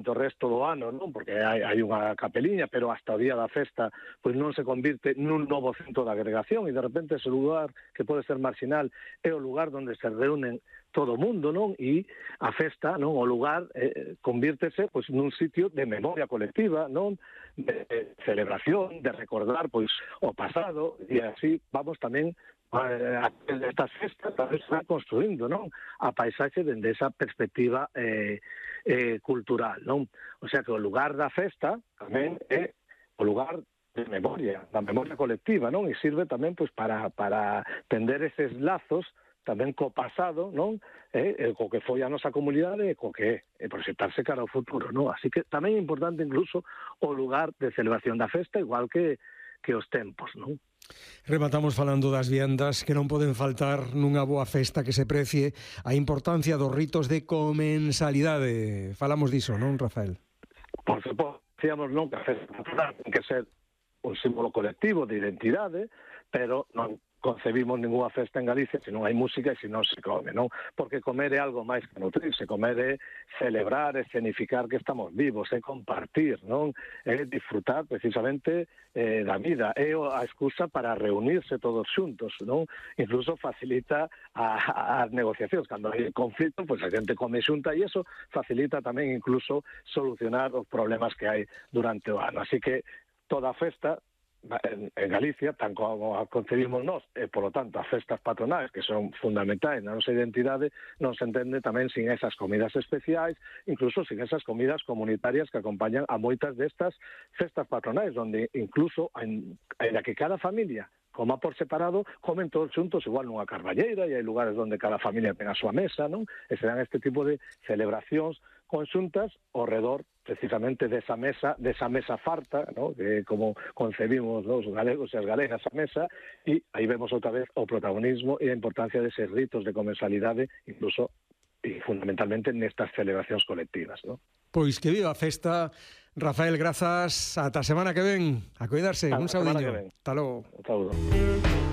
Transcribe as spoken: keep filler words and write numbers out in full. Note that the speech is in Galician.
do resto do ano, non? Porque hai, hai unha capeliña, pero hasta o día da festa pois non se convirte nun novo centro de agregación e de repente ese lugar que pode ser marginal é o lugar onde se reúnen todo o mundo, non? E a festa, non? O lugar eh, convírtese pois nun sitio de memoria colectiva, non? De celebración, de recordar pois o pasado e así vamos tamén a estas festas tamén se van construindo, non? A paisaxe dende esa perspectiva eh, eh, cultural, non? O sea que o lugar da festa tamén é o lugar de memoria, da memoria colectiva, non? E sirve tamén pois para para tender eses lazos tamén co pasado, non? Eh, eh, co que foi a nosa comunidade e co que é, e proxectarse cara ao futuro, non? Así que tamén é importante incluso o lugar de celebración da festa, igual que que os tempos, non? Rematamos falando das viandas que non poden faltar nunha boa festa que se precie a importancia dos ritos de comensalidade. Falamos diso, non, Rafael? Por suposto, decíamos non que a festa ten que ser un símbolo colectivo de identidade, pero non concebimos ninguna festa en Galicia se non hai música e se non se come, non? Porque comer é algo máis que nutrirse, comer é celebrar, é escenificar que estamos vivos, é compartir, non? É disfrutar precisamente eh, da vida, é a excusa para reunirse todos xuntos, non? Incluso facilita a, a, as negociacións, cando hai conflito, pois pues a xente come xunta e eso facilita tamén incluso solucionar os problemas que hai durante o ano. Así que toda festa En, en Galicia, tan como a concebimos nós, e, polo tanto, as festas patronais, que son fundamentais na nosa identidade, non se entende tamén sin esas comidas especiais, incluso sin esas comidas comunitarias que acompañan a moitas destas festas patronais, onde incluso, en, en la que cada familia coma por separado, comen todos xuntos igual nunha carballeira, e hai lugares onde cada familia ten a súa mesa, non? E se dan este tipo de celebracións conxuntas ao redor precisamente desa mesa, desa mesa farta, ¿no? Que como concebimos os galegos e as galegas a mesa, e aí vemos outra vez o protagonismo e a importancia deses ritos de comensalidade, incluso e fundamentalmente nestas celebracións colectivas, ¿no? Pois que viva a festa, Rafael, grazas, ata a semana que ven, a cuidarse, un saudiño. Hasta logo. Un saúdo.